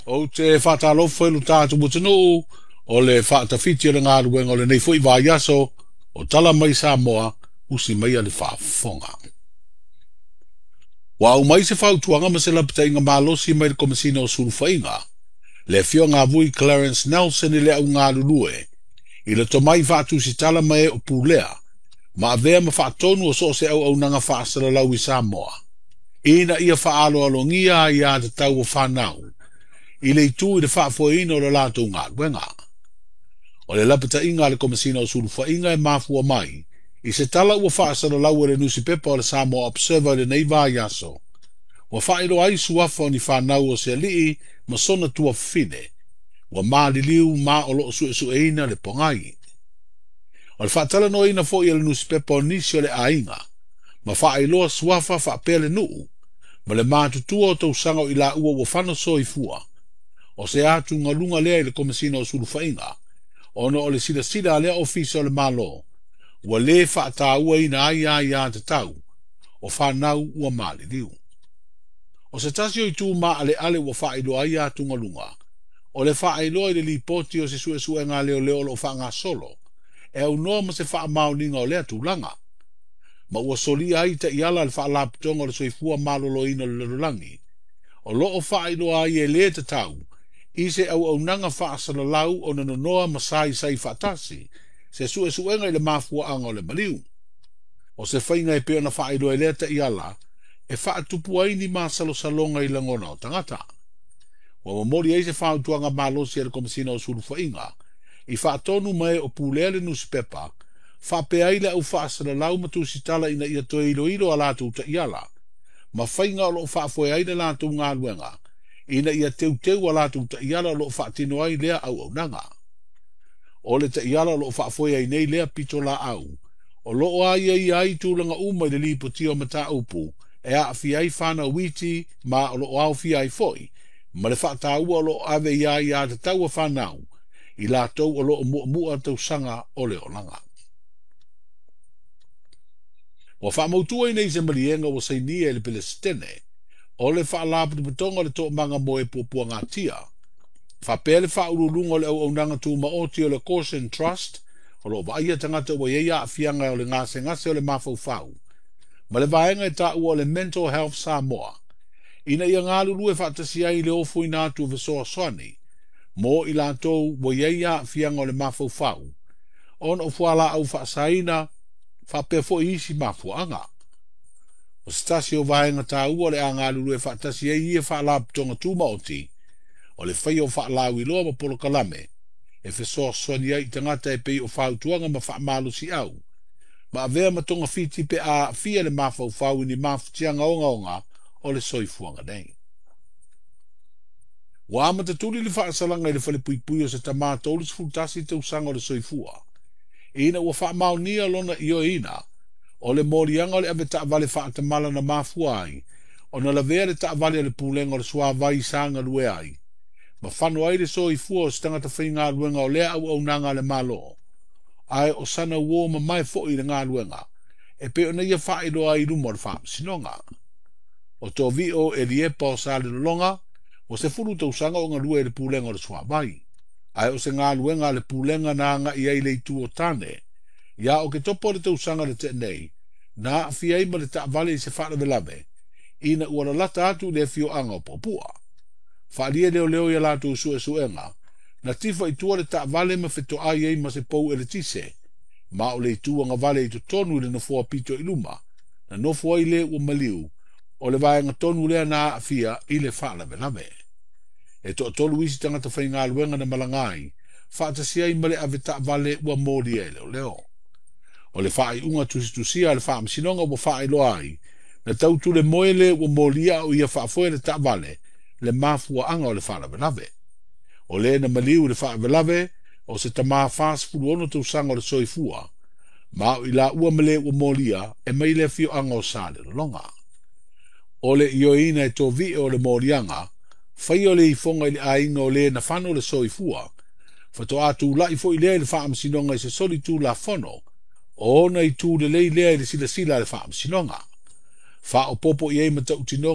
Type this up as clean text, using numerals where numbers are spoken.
Ou te faatalofa i lo tatou atunuu o le faatafiti o le galuega o lenei foi vaiaso o tala mai Samoa usi mai le faafofoga. Ua aumai se fautuaga ma se lapataiga malosi mai le Komesina o Sulufaiga, le afioga a Vui Clarence Nelson i le au galulue, i le tomai faatusitala ma e o pulea, ma avea ma faatonu o so o se auaunaga faasalalau i Samoa, ina ia faaaloalogia aiā tatau o fanau, i le itu i le faafoeina o le latou galuega. O le lapataiga a le Komesina o Sulufaiga e mafua mai, i se tala ua faasalalau e le nusipepa o le Samoa Observer i lenei vaiaso, ua faailoa ai suafa o ni fanau o se alii ma sona tuafafine, ua maliliu ma o loo suesueina le pogai. O le faatalanoaina foi e le nusipepa o nisi o le aiga, ma faailoa suafa faapea le nuu, ma le matutua o tausaga o i laua ua fano soifua, o se atugaluga lea i le Komesina o Sulufaiga, ona o le silasila a lea ofisa o le Malo, ua lē faatauaina ai aiā tatau o fanau ua maliliu. O se tasi o itu maaleale ua faailoa ai atugaluga, o le faailoa i le lipoti o se suesuega a leoleo o loo faagasolo, e aunoa ma se faamaoniga o lea tulaga, ma ua solia ai taiala a le Faalapotopotoga o le Soifua Maloloina o le Lalolagi, o loo faailoa ai e lē tatau i se auaunaga faasalalau ona nonoa ma saisai faatasi se suesuega i le mafuaaga o le maliu. O se faiga e pei ona faailoa e lea taiala e faatupu ai ni masalosaloga i lagona o tagata. Ua momoli ai se fautuaga malosi a le Komesina o Sulufaiga i faatonu ma e o pulea le nusipepa, faapea ai le au faasalalau ma tusitala ina ia toe iloilo a latou taiala, ma faiga o loo faafoe ai le latou galuega, ina ia teuteu a latou taiala o loo faatino ai lea auaunaga. O le taiala o loo faafoe ai nei lea pitolaau, o loo aiaia ai tulaga uma i le lipotia o mataupu e aafia ai fanau iti ma o loo aofia ai foi, ma le faataua o loo ave i aiā tatau a fanau, i latou o loo muamua tausaga o le olaga. Ua faamautu ai nei se maliega ua sainia e le Pelesitene, o le Faalapotopotoga o le Toomaga mo e Puapuagatia, faapea le faauluuluga o le auaunaga tumaoti o le Caution Trust, o loo vaaia tagata ua i ai aafiaga o le gasegase o le mafaufau, ma le vaega e taua o le Mental Health Samoa, ina ia galulue faatasi ai i le ofoina atu o fesoasoani mo i latou ua i ai aafiaga o le mafaufau, ona o fualaau faasaina faapea foi isi mafuaaga. O se tasi o vaega taua o le a galulue faatasi ai ia faalapotopotoga tumaoti, o le faia o faalauiloa ma polokalame e fesoasoani ai i tagata e pei o fautuaga ma faamalosiau, ma avea ma togafiti pe a aafia le mafaufau i ni mafatiaga ogaoga o le soifuaga nei. Ua amata tuli le faasalaga i le falepuipui o se tamā 31 tausaga o le soifua, ina ua faamaonia lona ioeina o le moliaga o le avetaavale faatamala na mafua ai ona lavea le taavale a le Pulega o le Suavai sa galue ai, ma fano ai le soifua o se tagata faigaluega o lea auaunaga a le Malo, ae o sana uō mamae foi i le galuega, e pei ona ia faailoa ai i luma o le Faamasinoga. O Tovio Eliepa o Salelologa, ua 10 tausaga o galue i le Pulega o le Suavai, ae o se galuega a le Pulega na agai ai i le itu o tane, ia Oketopa o le tausaga na tea nei, na aafia ai ma le taavale i se faalavelave, ina ua lalata atu i le afioaga o Puapua. Faaalia leoleo i a latou suesuega, na tifa i tua le taavale ma fetoai ai ma se pou eletise, ma o le itu agavale i totonu i le nofoa pito i luma, na nofo ai le ua maliu, o le vaega tonu lea na aafia i le faalavelave. E toatolu isi tagata faigaluega na malaga ai, faatasi ai ma le avetaavale ua molia e leoleo. O le faaiuga tusitusia a le Faamasinoga ua faailoa ai, na tautulemoe le ua molia a o ia faafoe le taavale, le mafuaaga o le faalavelave. O le na maliu i le faalavelave, o se tamā 46 tausaga o le soifua, ma o i laua ma le ua molia e mai le afioaga o Salelologa. O le ioeina e Tovio o le moliaga, faia o le ifoga i le aiga o le na fano le soifua, faatoa tulai foi lea i le Faamasinoga i se soli tulafono, o ona itu lelei lea i le silasila a le Faamasinoga. Faaopoopo i ai matautinoga